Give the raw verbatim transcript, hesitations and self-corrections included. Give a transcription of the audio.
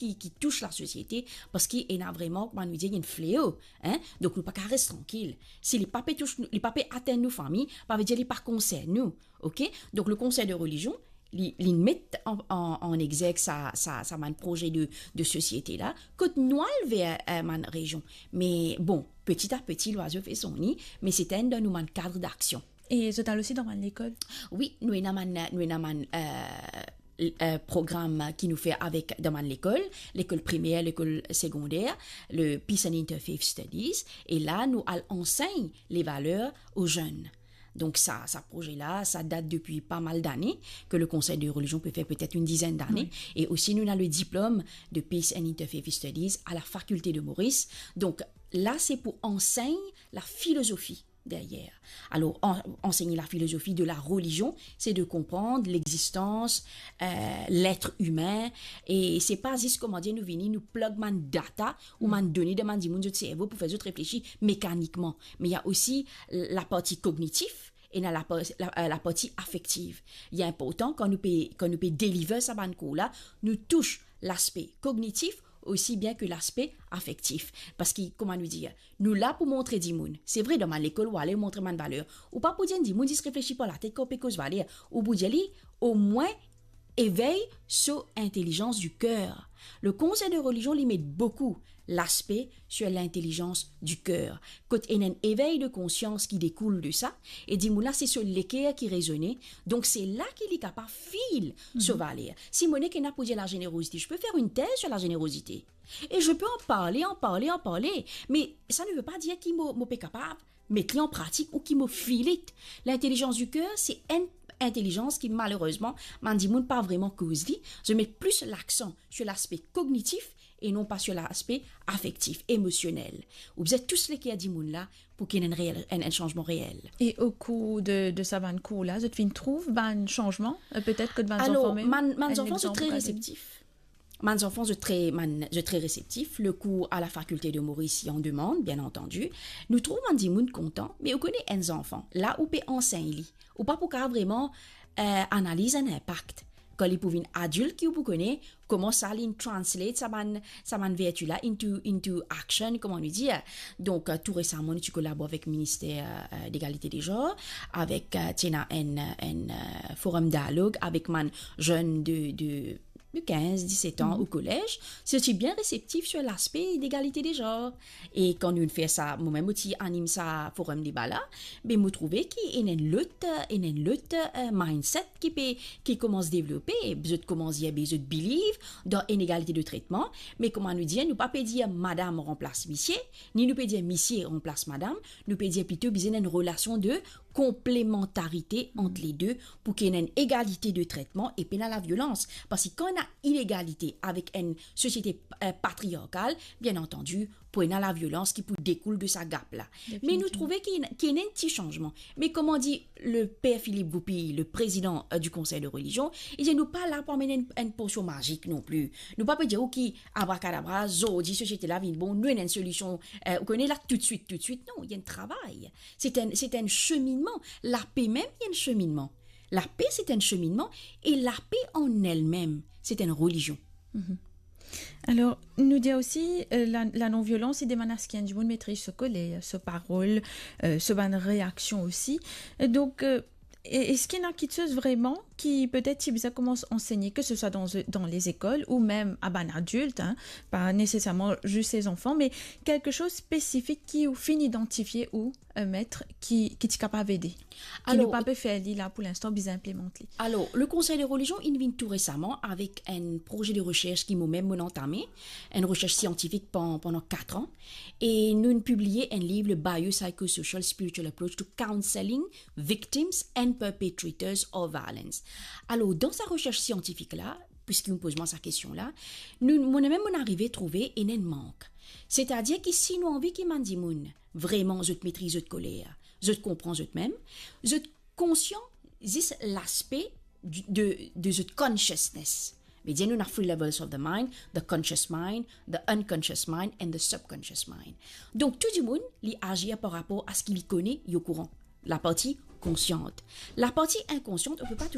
ki, ki tous lasosiete, parski ena vreman, kouma nou dir, enn fleo, hein? Donk nou pa kav res trankil. Si li pa pe tous nou, li pa pe atenn nou fami, pa ve dir li pa konsern nou, ok? Donk le Conseil de religion, li, li met an, an, an exergue sa, sa, sa bann proze de, de sosiete la, kot nou al ver, eh, bann rezion. Me bon, petit à petit, lwazo fer son ni, me se enn dan nou bann kad d'aksion. E zot al osi dan bann lekol? Wi, nou ena bann, nou ena bann, eh, eh, program ki nou fer avek dan bann lekol, lekol primer, lekol segonder, le Peace and Interfaith Studies, e la nou al ansegn le valer o zenn. Donk sa, sa proze la, sa dat depi pa mal dane, ke le Conseil de religion pe fer petet enn dizenn dane, wi, e osi nou ena le diplom de Peace and Interfaith Studies a la Faculté de Maurice. Donk la, se pou ansegn la filozofi deryer. Alor, an-, ansegn la filozofi de la relizion, se de konpran lexistans, eh, letre imin, e se pa zis, kouma dir, nou vini, nou plug bann data ou bann done dan bann dimoun zot servo pou fer zot reflesi mekanikman. Me ena osi laparti kognitif, ena lapa-, la, eh, laparti afektif. Li inportan kan nou pe, kan nou pe deliver sa bann kour la, nou tous laspe kognitif osi bien ke laspe afektif. Parski, kouma nou dir, nou la pou montre dimoun. Se vre, dan bann lekol, ou ale montre bann valer. Ou pa pou dir enn dimoun zis reflesi par latet kan ou pe koz valer. Ou pou dir li, omwin, éveille so intelligence du cœur. Le Conseil de religion, li met boukou laspe sur l'intelligence du cœur. Kot ena enn éveil de conscience ki dekoul de sa, e dimoun la, se so leker ki rezone, donk se la ki li kapav fil so valer. Si mo nek ena pou dir la générosité, je peux faire une thèse sur la générosité. Et je peux en parler, en parler, en parler. Mais ça ne veut pas dire ki mo, mo pe kapav met li an pratik ou ki mo feel it. L'intelligence du cœur, se enn intelizans ki, malerezman, bann dimoun pa vreman koz li. Zot met plis laksan sur laspe kognitif e non pa sur laspe afektif, emosionel. Ou bizin tous leker dimoun la pou ki ena enn reel, enn, enn sanzman reel. E o kour de, de sa bann kour la, zot finn trouv bann sanzman, euh, petet kot bann zanfan mem? Alor, bann, bann zanfan, zot tre reseptif. Bann zanfan, zot tre, bann, zot tre reseptif. Le kour a la Faculté de Maurice, i an demann, bien antandi. Nou trouv bann dimoun kontan, me ou kone enn zanfan, la ou pe ansegn li, ou pa pou kapav vreman, euh, analiz enn inpak. Kan li pou vinn adilt, ki ou pou kone kouma sa li translate sa bann, sa bann verti la into, into action, kouma nou dir. Donk, euh, tou resaman, nou ti kolabor avek Minister, euh, d'Égalité des Genres, avek, euh, ti ena enn, enn, euh, forum dialog avek bann zenn de, de de kinz, diset an o kolez, se ti bien reseptif sur laspe d'égalité des genres. E kan nou fer sa, mo mem mo ti anim sa forum deba la, be mo trouve ki ena enn lot, ena enn lot, euh, mindset ki pe, ki koumans devlope, zot koumans dir, be zot believe dan inegalite de tretman, me kouma nou dir, nou pa pe dir madam ranplas misie, ni nou pe dir misie ranplas madam, nou pe dir plito bizin enn relasion de konplemantarite ant le de pou ki ena enn egalite de tretman e pena laviolans. Parski kan ena inegalite avek enn sosiete, eh, patriarkal, bien antandi, pou ena laviolans ki pou dekoul de sa gap la. Me nou trouve ki, ki ena enn ti sanzman. Me kouma dir le per Philippe Goupil, le prezidan, eh, du Conseil de religion, li dir nou pa la pou amenn enn, enn posion mazik non pli. Nou pa pe dir, ok, abrakadabra, zordi sosiete la vinn bon, nou ena enn solision, eh, ou kone la toutswit, toutswit. Non, ena enn travay. Se enn, se enn seminnman. Lape mem, ena enn seminnman. Lape, se enn seminnman, e lape an elmem, se enn relizion. Alor, nou dir osi, eh, la, la non-violans, li demann aski enn dimoun metriz so koler, so parol, eh, so bann reaksion osi. Eh, donk, eh, e-, eski ena kiksoz vreman ki petet ti bizin koumans ansegne, ke se swa dan, dan lezekol ou mem a bann adilt, hein, pa neseserman zis se zanfan, me kiksoz spesifik ki ou finn idantifie ou, eh, met ki, ki ti kapav ede, ki nou pa pe fer li la pou linstan, bizin inplimant li? Alor, le Conseil de religion inn vinn tou resaman avek enn proze de resers ki mo mem mo antame, enn resers siantifik pan-, pandan kat an, e nou inn pibliye enn liv, le Biopsychosocial Spiritual Approach to Counseling Victims and Perpetrators of Violence. Alor, dan sa resers siantifik la, piski ou poz mwa sa kestion la, nou, mo mem mo arive trouve ena enn mank. Setadir ki si nou anvi ki bann dimoun vreman zot metriz zot koler, zot konpran zot mem, zot konsian zis laspe di, de, de zot consciousness. Vedir nou ena three levels of the mind, the conscious mind, the unconscious mind and the subconscious mind. Donk tou dimoun, li azir par rapor a seki li kone, li okouran. Laparti konsian. Laparti inkonsian, ou pe pa